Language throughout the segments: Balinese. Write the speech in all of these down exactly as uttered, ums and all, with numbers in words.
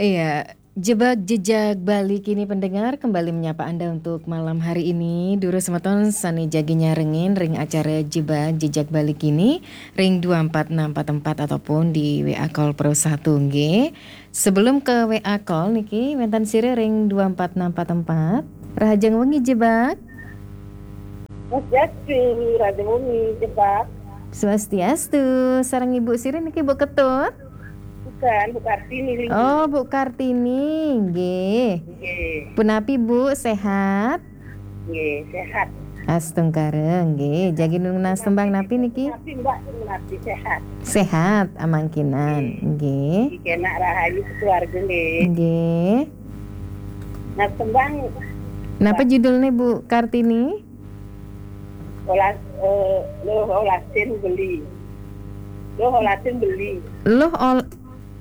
Iya, Jebak Jejak Bali Kini pendengar kembali menyapa Anda untuk malam hari ini. Duru semeton sane jagi nyarengin ring acara Jebak Jejak Bali Kini ring dua empat enam empat empat ataupun di W A Call Pro satu nggih. Sebelum ke W A Call niki, wenten sire ring dua empat enam empat empat. Rahajeng wengi Jebak. Swastiastu, Rahajeng wengi Jebak. Swastiastu, sareng Ibu sire niki Bu Ketut? Bukan, Bu Kartini. Oh, Bu Kartini, nggih. Nggih. Punapi, Bu, sehat? Nggih, sehat. Astungkara, nggih. Jagi nunas tembang napi niki? Napi, Mbak, napi sehat? Sehat, amangkinan, nggih. Nggih. Nggih, kenak rahayu keluarga, nggih. Nggih. Nah, tembang. Napa judulnya, Bu Kartini? Olas, eh, loh, olasin beli. Loh, olasin beli. Loh, ol-,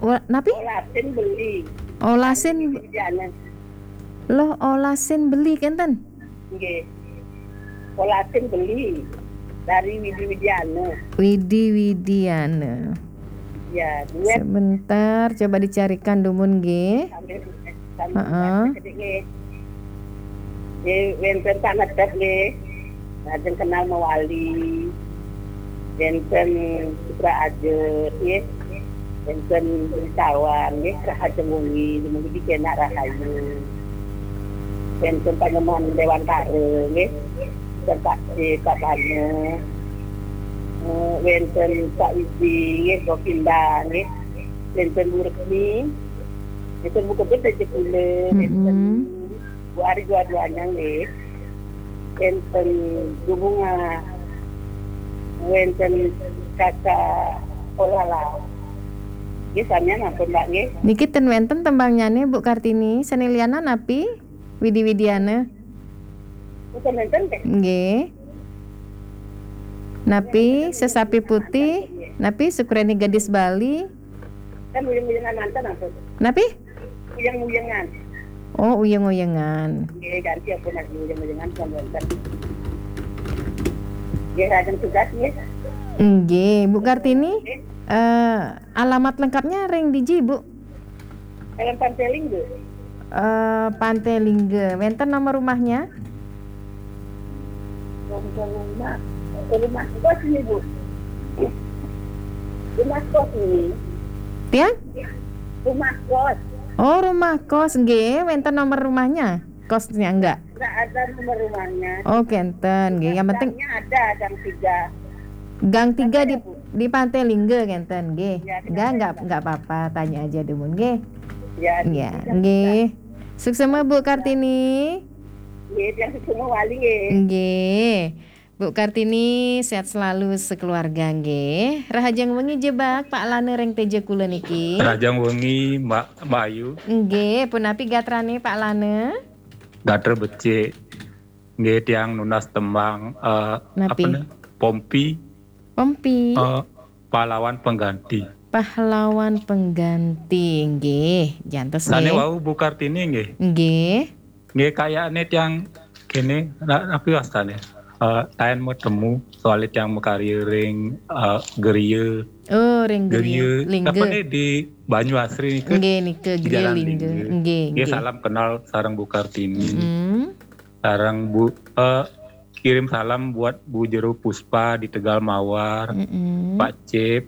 wa-, napi? Olasin beli. Olasin. Jana. Loh, olasin beli, kenten? Nggih. Olasin beli dari Widi Widiana. Widi Widiana. Ya, duet. Sebentar, coba dicarikan dumun, nggih. Sambil, sambil. Heeh. Nggih. Nggih, wenten Pak Ngetep, nggih. Lajeng kenal mewali. Wenten Putra Ajet, nggih. Wenten Beli Sawan, nggih, Rahajeng wengi, dumugi kenak rahayu. Wenten Panemon Dewantara, nggih. Wenten Pak, eh, Pak Bana. Eh, wenten Pak Widi, nggih, Govinda, nggih. Wenten Bu Resmi. Wenten Bu Kebet, wenten kula, wenten Bu Ari dua-duanya, nggih. Wenten Bu Bunga. Wenten Kakak Olala. Nggih, samian ampun, Mbak, nggih. Niki ten wenten tembangnyane, Bu Kartini. Sane liana napi? Widi Widiana. Mboten wenten, nggih. Nggih. Napi, Sesapi Putih? Napi, Sukreni Gadis Bali? Kan uyeng-uyengan manten, ampun. Napi? Uyeng-uyengan. Oh, uyeng-uyengan. Nggih, ganti ampun, lagi uyeng-uyengan, kan wenten. Nggih, lajeng tugas, nggih. Nggih, Bu Kartini. Nggih. Eh, alamat lengkapnya ring diji, Bu? Dalam Pantelingga. Eh, Pantelingga. Wenten nomor rumahnya? Nomor rumah. Rumah kos ini, Bu. Rumah kos ini. Tiang? Rumah kos. Oh, rumah kos. Nggih, wenten nomor rumahnya? Kosnya enggak? Enggak ada nomor rumahnya. Oh, kenten, nggih. Yang penting gangnya ada, gang tiga. Gang tiga di, Bu, di Pantelingga, kenten, nggih. Ya, enggak, enggak, enggak apa-apa, tanya aja dulu, nggih. Ya, nggih. Suksema, Bu Kartini. Nggih, yang suksema wali, nggih. Nggih. Bu Kartini, sehat selalu sekeluarga, nggih. Rahajeng wengi Jebak, Pak Lana ring teja kula niki. Rahajeng wengi, Mbak, Mbak Ayu. Nggih, punapi gatrane Pak Lana? Gatra becik. Nggih, tiang nunas tembang, eh, napi? Apa nih? Pompi. Pompi. Eh, pahlawan pengganti. Pahlawan pengganti, nggih. Jantos, sane nggih. Wau Bu Kartini, nggih. Nggih. Nggih, kayakne tiang kene, na-, napi wastane? Eh, taen metemu, soale tiang makarya ring, eh, Geria. Oh, ring Geria. Geria. Lingga. Apa nih di Banyu Asri nika? Nggih, nika Geria Jalan Lingga. Lingga. Nggih, nggih, nggih. Salam kenal sareng Bu Kartini. Mm-mm. Sareng Bu, eh, kirim salam buat Bu Jero Puspa di Tegal Mawar, mm-mm, Pak Cip,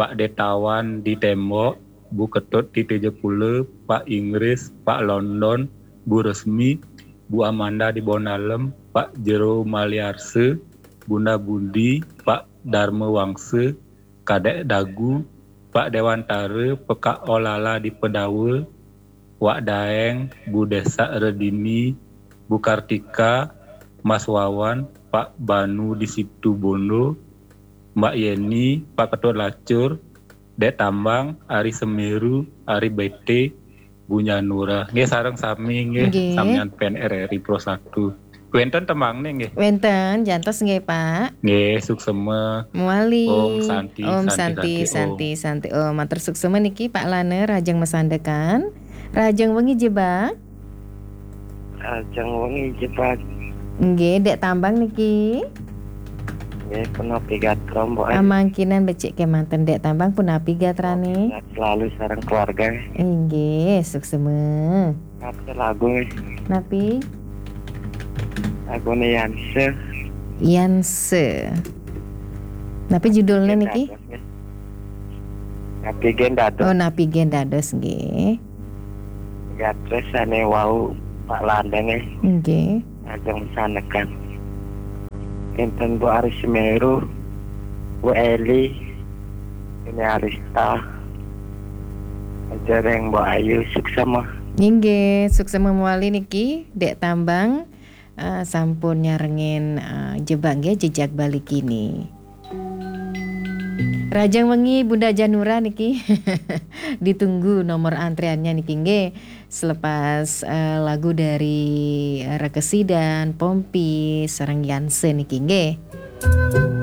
Pak Detawan di Tembok, Bu Ketut di Tejapula, Pak Inggris, Pak London, Bu Resmi, Bu Amanda di Bonalem, Pak Jero Maliarse, Bunda Budi, Pak Darma Wangse, Kadek Dagu, Pak Dewantara, Pekak Olala di Pedawa, Wak Daeng, Bu Desak Redini, Bu Kartika, Mas Wawan, Pak Banu di Situ Bondo, Mbak Yeni, Pak Ketut Lacur, Dek Tambang, Ari Semeru, Ari Bete, Bu Nyanura. Nggih, sareng sami nggih, nggih, samian pen R R I Pro satu. Wenten tembangne nggih? Wenten, jantos nggih, Pak. Nggih, suksema. Mawali. Om Santi, Om Santi, Santi, Santi, Santi, Santi. Oh, matur suksema niki Pak Lana, rahajeng masandekan. Rahajeng wengi Jebak. Rahajeng wengi Jebak. Nggih, Dek Tambang niki. Eh, punapi gatra, Mbok, eh? Amangkinan becik kemanten Dek Tambang, punapi gatrane? Sehat selalu sareng keluarga. Inggih, suksema. Kate lagu, eh. Napi? Lagune Yanse. Yanse. Napi judulnya niki? Napi gen dados. Oh, napi gen dados nggih. Gatres sane wau Pak Landeng, eh. Nggih. Ajeng sanekan. Enten Bu Aris Semeru, Bu Eli, ini Arista. Ajareng Bu Ayu, suksema. Inggih, suksema mawali niki, Dek Tambang, eh, sampun nyarengin, eh, jebak nggih, Jejak Bali Kini. Rahajeng wengi Bunda Janura niki. Ditunggu nomor antreannya niki nggih. Selepas, eh, lagu dari Reke Sidan, Pompi, sareng Yanse niki nggih.